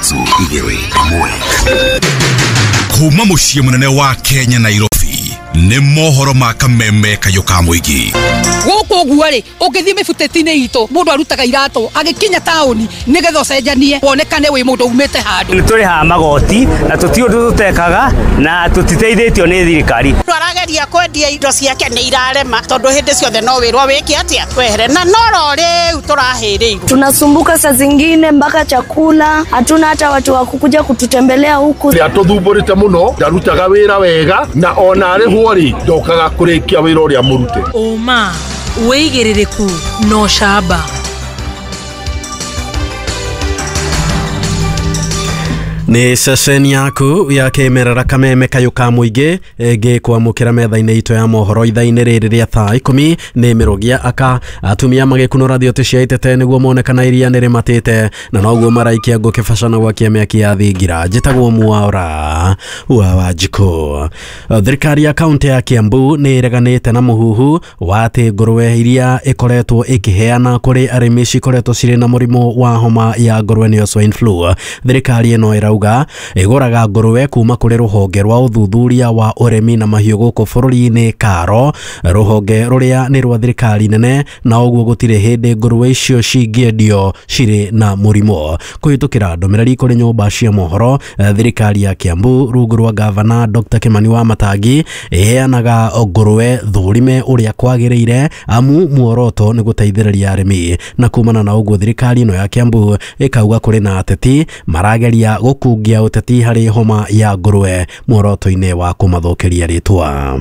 3 2 1. Kuma muciĩ mũnene wa Kenya Nairobi nĩ mohoro ma kameme kayũ ka mũingĩ. Gũkũ ũguo rĩ, ũngĩthiĩ mĩbuteti-inĩ itũ, mũndũ arutaga iratũ agĩkinya taũni nĩgetha ũcenjanie wonekane wĩ mũndũ umĩte handũ. Nĩ tũrĩhaga magoti na tũtirĩ ũndũ tũtekaga na tũtiteithĩtio nĩ thirikari. Mũndũ arageria kwendia indo ciake nĩ irarema tondũ hĩndĩ ciothe no wĩrwo wĩke atĩa wehere na noro rĩu tũrahĩrĩirwo. Tunasumbuka saa zingine mpaka chakula hatuna, hata watu wa kukuja kututembelea huku. Atũthumbũrĩte mũno, ndarutaga wĩra wega na ona arĩhwo rĩ ndokaga kũrĩkia wĩra ũrĩa mũrute. Ũma, wĩigĩrĩrĩku na ũcamba. Nĩ ceceni yaku ya kĩmerera kameme kayũ ka mũingĩ ĩngĩkwamũkĩra metha-inĩ itũ ya mohoro ithaa-inĩ rĩrĩ rĩa thaa 10 nĩ mĩrũgia aka atumia magĩkunũra thiote cia itete nĩguo mone kana iria nĩ rĩmatĩte na noguo maraikia ngũkĩ baca na gwakia mĩaki ya thingira. Njĩtagwo Mwaura wa Wanjikũ. Thirikari ya kaunti ya Kiambu nĩ ĩreganĩte na mũhuhu wa atĩ ngũrwe iria ĩkoretwo ĩkĩheana kũrĩ arĩmi cikoretwo cirĩ na mũrimũ wa homa ya ngũrwe nĩyo swine flu. Thirikari ĩno ĩrauga ĩgũraga ngũrwe kuma kũrĩ rũhonge rwa ũthuthuria wa ũrĩmi na mahiũ gũkũ bũrũri-inĩ KARO, rũhonge rũrĩa nĩ rwa thirikari nene, na ũguo gũtirĩ hĩndĩ ngũrwe icio cingĩendio cirĩ na mũrimũ. Kũhĩtũkĩra ndũmĩrĩri kũrĩ nyũmba cia mohoro, thirikari ya Kiambu rungu rwa gavana Dr. Kimani wa Matangi ĩheanaga ngũrwe thũrime ũrĩa kwagĩrĩire amu muoroto nĩ gũteithĩrĩria arĩmi, na kumana na ũguo thirikari ĩno ya Kiambu ĩkauga kũrĩ na ateti marageria gũkungia ũteti harĩ homa ya ngũrwe muoroto-inĩ wa kũmathũkĩria rĩtwa.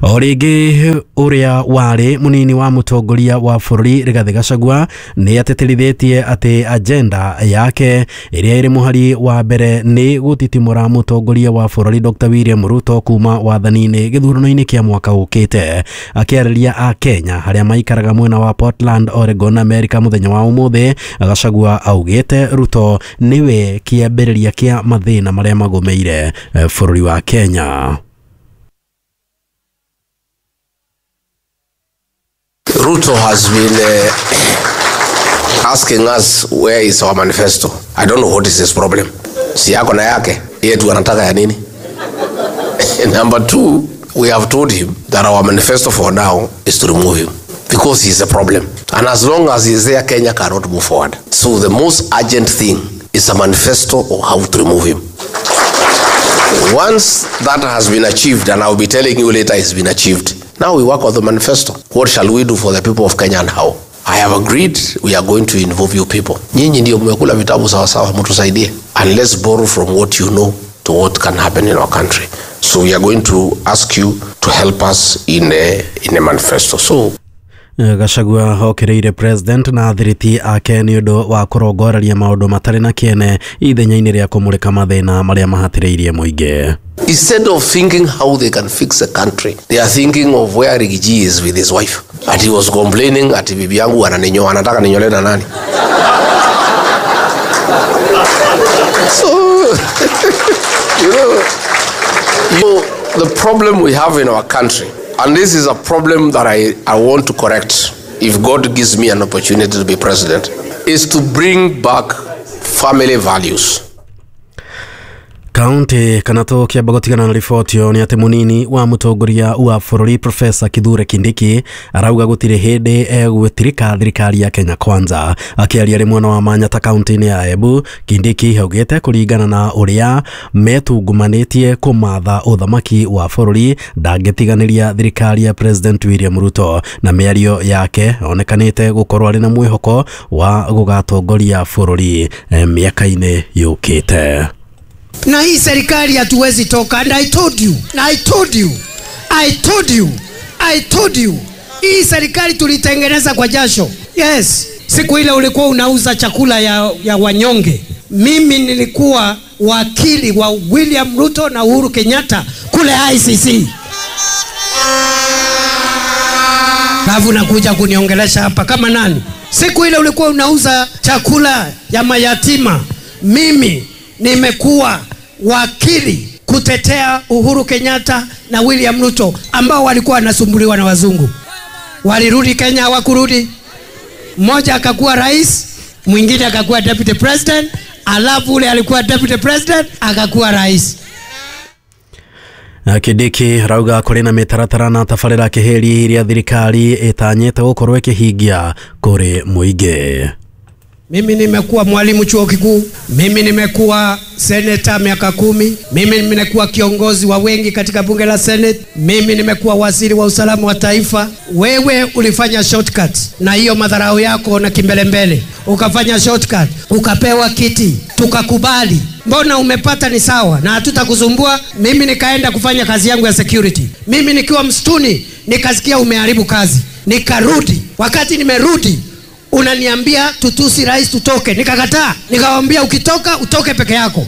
O rĩngĩ ũrĩa warĩ mũnini wa mũtongoria wa bũrũri Rigathĩ Gachagua nĩ atĩtĩrithĩtie atĩ agenda yake ĩrĩa ĩrĩ mũhari wa mbere nĩ gũtitimũra mũtongoria wa bũrũri Dr. William Ruto kuma wathani-inĩ gĩthurano-inĩ kĩa mwaka ũkĩte. Akĩarĩria a Kenya harĩa maikaraga mwena wa Portland, Oregon, America mũthenya wa ũmũthĩ, Gachagua augĩte Ruto nĩwe kĩambĩrĩria kĩa mathĩna marĩa magũmĩire bũrũri wa Kenya. Ruto has been asking us where is our manifesto. I don't know what is his problem. Si yako na yake, yetu anataka ya nini? Number two, we have told him that our manifesto for now is to remove him because he is a problem. And as long as he is there, Kenya cannot move forward. So the most urgent thing is a manifesto of how to remove him. Once that has been achieved, and I will be telling you later it's been achieved, now we work on the manifesto. What shall we do for the people of Kenya and how? I have agreed we are going to involve you people. Nyinyi ndio mmekula vitabu sawa sawa, mtusaidie. And let's borrow from what you know to what can happen in our country. So we are going to ask you to help us in a manifesto. So Gachagua okereire president na athiriti ake nĩ ũndũ wa kũrongoreria maũndũ matarĩ na kĩene ithenya-inĩ rĩa kũmũrĩka mathĩna marĩa mahatĩrĩirie mũingĩ. Instead of thinking how they can fix the country, they are thinking of where Rigiji is with his wife. And he was complaining ati bibi yangu ananinyoa, anataka ninyole na nani? So, you know, the problem we have in our country, and this is a problem that I want to correct if God gives me an opportunity to be president, is to bring back family values. Kaunti kana tũkĩamba gũtigana na riboti ĩyo nĩ atĩ mũnini wa mũtongoria wa bũrũri Professor Kithure Kindiki arauga gũtirĩ hĩndĩ egwĩtirika thirikari ya Kenya Kwanza. Akĩaria rĩ mwena wa Manyata kaunti-inĩ ya Embu, Kindiki augĩte kũringana na ũrĩa metungumanĩtie kũmatha ũthamaki wa bũrũri ndangĩtiganĩria thirikari ya President William Ruto, na mĩario yake onekanĩte gũkorwo arĩ na mwĩhoko wa gũgatongoria bũrũri mĩaka-inĩ yũkĩte. Na hii serikali hatuwezi toka, and I told you, I told you, I told you, I told you. Hii serikali tulitengeneza kwa jasho. Yes, siku ile ulikuwa unauza chakula ya wanyonge. Mimi nilikuwa wakili wa William Ruto na Uhuru Kenyatta kule ICC. Alafu nakuja kuniongelesha hapa kama nani? Siku ile ulikuwa unauza chakula ya mayatima. Mimi nimekuwa wakili kutetea Uhuru Kenyatta na William Ruto ambao walikuwa wanasumbuliwa na wazungu. Walirudi Kenya, hawakurudi. Mmoja akakuwa rais, mwingine akakuwa deputy president, Alafu ule alikuwa deputy president akakuwa rais. Kindiki rauga kũrĩ na mĩtaratara na tabarĩra kĩhĩri iria thirikari ĩtanyĩte gũkorwo ĩkĩhingia kũrĩ mũingĩ. Mimi nimekuwa mwalimu chuo kikuu, mimi nimekuwa seneta miaka 10, mimi nimekuwa kiongozi wa wengi katika bunge la Senate, mimi nimekuwa waziri wa usalama wa taifa. Wewe ulifanya shortcut na hiyo madharau yako na kimbelembele, ukafanya shortcut, ukapewa kiti, tukakubali. Mbona umepata ni sawa na hatutakusumbua. Mimi nikaenda kufanya kazi yangu ya security. Mimi nikiwa msituni nikasikia umeharibu kazi, nikarudi. Wakati nimerudi unaniambia tutusi rais tutoke, nikakataa. Nikamwambia ukitoka utoke peke yako.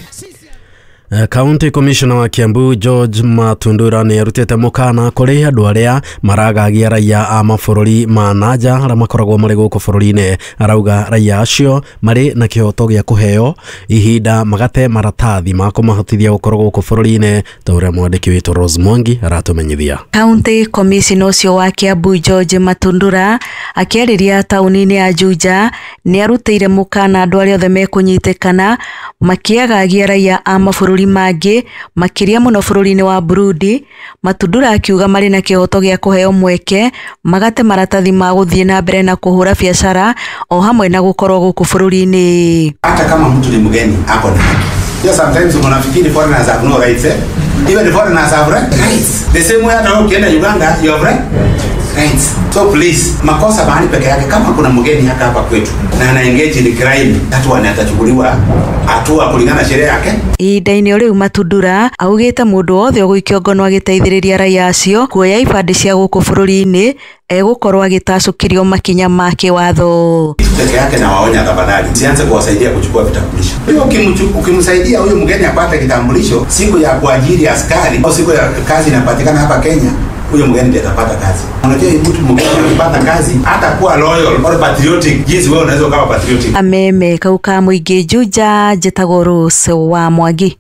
County Commissioner wa Kiambu George Matundura nĩ arutĩte mũkana kũrĩ andũ arĩa maragagia raia a mabũrũri ma nanja arĩa makoragwo marĩ gũkũ bũrũri-inĩ. Arauga raia acio marĩ na kĩhoto gĩa kũheo ihinda magate maratathi ma kũmahotithia gũkorwo gũkũ bũrũri-inĩ, ta ũrĩa mwandĩki witũ Rose Mwangi aratũmenyithia. County Commissioner ũcio wa Kiambu George Matundura akĩarĩria taũni-inĩ ya Juja nĩ arutĩire mũkana andũ arĩa othe mekũnyitĩkana makĩagagia raia a mabũrũri mangĩ makĩria mũno bũrũri-inĩ wa Burundi. Matundura akiuga marĩ na kĩhoto gĩa kũheo mweke magate maratathi ma gũthiĩ na mbere na kũhũra biacara o hamwe na gũkorwo gũkũ bũrũri-inĩ. Hata kama mtu ni mgeni ako na haki. Yeah, sometimes unafikiri foreigners have no rights, eh? Even the foreigners have rights. The same way hata ukienda Uganda you have rights. So please, makosa mahali peke yake kama kuna mgeni hata hapa kwetu na ana engage in crime, that one atachukuliwa hatua kulingana na sheria yake. Ihinda-inĩ rĩu Matundura augĩte mũndũ wothe ũgũikio ngono agĩteithĩrĩria raia acio kuoya ibandĩ cia gũkũ bũrũri-inĩ egũkorwo agĩtacũkĩrio makinya ma kĩwatho. Peke yake na waonya tafadhali, sianze kuwasaidia kuchukua vitambulisho. Hiyo ukimsaidia huyo mgeni apate kitambulisho, siku ya kuajiri askari au siku ya kazi inapatikana hapa Kenya, huyo mgeni ndiye atapata kazi. Unajua mtu mgeni akipata kazi hata kuwa loyal or patriotic, jinsi wewe unaweza ukawa patriotic. Ameme kauka mũingĩ Juja, njĩtagwo Rose wa Mwangi.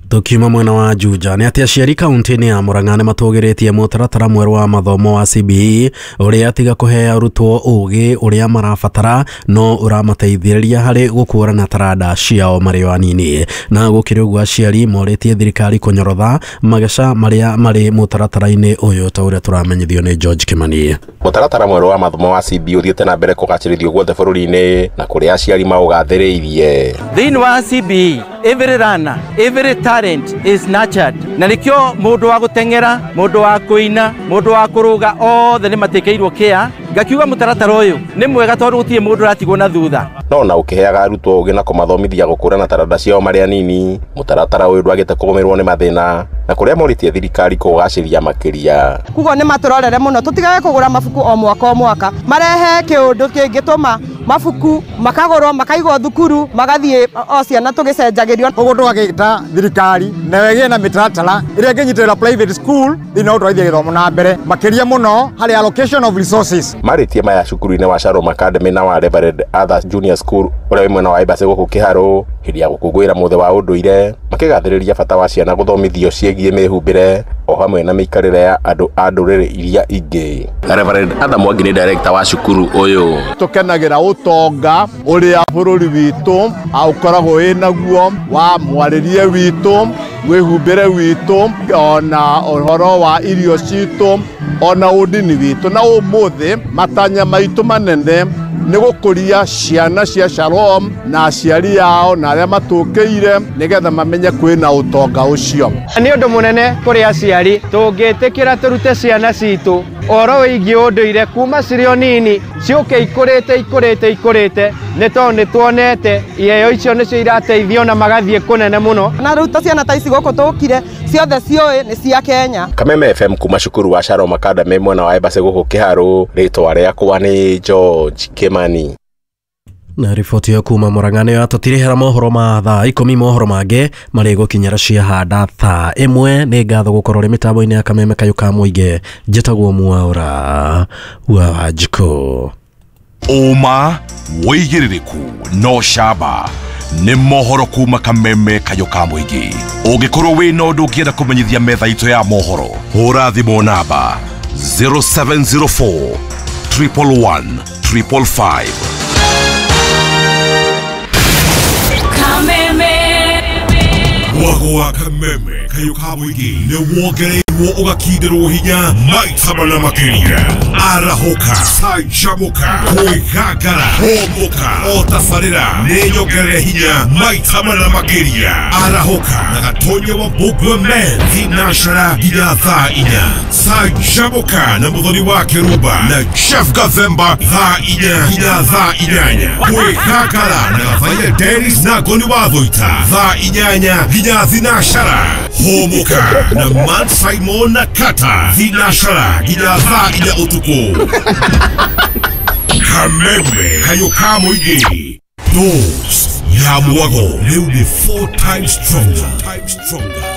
Tukiuma mwena wa Juja nĩ atĩ aciari kaunti-inĩ ya Murang'a nĩ matũgĩrĩtie mũtaratara mwerũ wa mathomo wa CBE ũrĩa tiga kũhe arutwo ũgĩ ũrĩa marabatara no ũramateithĩrĩria harĩ gũkũrana taranda ciao marĩ o anini. Na gũkĩrĩ ũguo aciari morĩtie thirikari kũnyorotha mageca marĩa marĩ mũtaratara-inĩ ũyũ, ta ũrĩa tũramenyithio nĩ George Kimani. Mũtaratara mwerũ wa mathomo wa CBE ũthiĩte na mbere kũgacĩrithio guothe bũrũri-inĩ na kũrĩa aciari maũgathĩrĩirie. Thĩinĩ wa CBE every learner, every talent is nurtured. Na nikio mundu wa guteng'era, mundu wa kuina, mundu wa kuruga othe ni matikeirwo kia. Ngakiuga mutaratara uyu ni mwega tondu gutirĩ mundu ũratigwo na thutha. No na ũkĩheaga arutwo ũgĩ na kũmathomithia gũkũrana taranda ciao marĩ anini, mũtaratara ũyũ ndwagĩte kũgũmĩrwo nĩ mathĩna na kũrĩa morĩtie thirikari kũgacĩria makĩria. Kugo nĩ matũrorere mũno tũtigage kũgũra mabuku o mwaka o mwaka, marehe kĩũndũ kĩngĩtũma mabuku makagũrwo makaigwo thukuru magathiĩ o ciana tũgĩcenjagĩrio. Ũguo tũgagĩta thirikari na ĩgĩe na mĩtaratara ĩrĩa ĩngĩnyitĩrĩra private school thĩinĩ wa gũtwarithia gĩthomo na mbere makĩria mũno harĩ allocation of resources. Marĩtie maya cukuru-inĩ wa Shalom Academy na wa Reverend Arthur Junior School ũrĩa wĩ mwena wa Embassy gũkũ Kĩharũ hĩndĩ ya gũkũngũĩra mũthĩ wa ũndũire, makĩgathĩrĩria bata wa ciana gũthomithio ciĩgiĩ mĩhumbĩre o hamwe na mĩikarĩre ya andũ a ndũrĩrĩ iria ingĩ. Reverend Arthur Mwangi nĩ director wa cukuru ũyũ. Tũkenagĩra ũtonga ũrĩa bũrũri witũ ũkoragwo wĩ naguo wa mwarĩrie witũ, mwĩhumbĩre witũ, ona ũhoro wa irio citũ, ona ũndini witũ. Na ũmũthĩ matanya maitũ manene nĩ gũkũria ciana cia Shalom na aciari ao na arĩa matũkĩire nĩgetha mamenye kwĩna ũtonga ũcio. Nĩ ũndũ mũnene kũrĩ aciari tũngĩtĩkĩra tũrute ciana citũ ũhoro wĩgiĩ ũndũire kuma cirĩ o nini ciũke ikũrĩte ikũrĩte ikũrĩte, nĩ tondũ nĩ tuonete iheo icio nĩcio irateithio na magathiĩ kũnene mũno. Na rĩu ta ciana ta ici gũkũ tũkire ciothe ciũĩ nĩ cia Kenya. Kameme FM kuma cukuru wa Shalom Academy mwena wa Embassy gũkũ Kĩharũ, rĩtwa rĩakwa nĩ George Kimani. Na riboti ĩyo kuma Murang'a nĩyo yatũtirihĩra mohoro ma thaa 10. Mohoro mangĩ marĩ gũkinyĩra ciahanda thaa 1. Nĩ ngatho gũkorwo rĩ mĩtambo-inĩ ya Kameme kayũ ka mũingĩ. Njĩtagwo Mwaura wa Wanjikũ. Ũma wĩigĩrĩrĩku no camba nĩ mohoro kuma Kameme kayũ ka mũingĩ. Ũngĩkorwo wĩna ũndũ ũngĩenda kũmenyithia metha itũ ya mohoro, hũra thimũ namba 0704 111 555. Wa kameme kayũ ka mũingĩ nĩ wongereirwo ũgakindĩrwo hinya maita mana makĩria. Arahũka, canjamũka, kwĩgangara, hũmũka, o tabarĩra nĩ nyongerere hinya maita mana makĩria. Arahũka na Gatonya wa Mbũngwe Men thinashara nginya thaa 4. Canjamũka na Mũthoni wa Kĩrumba na Jeff Gathemba thaa 4 nginya thaa 8. Kwĩgangara na Gathaia Dennis na Ngoni wa Thũita thaa 8 nginya thinashara. Hũmũka na Man Simon na Kata thinashara nginya thaa 4 ũtukũ. Kameme kayũ ka mũingĩ. Dose ya mwago rĩu nĩ 4 times stronger.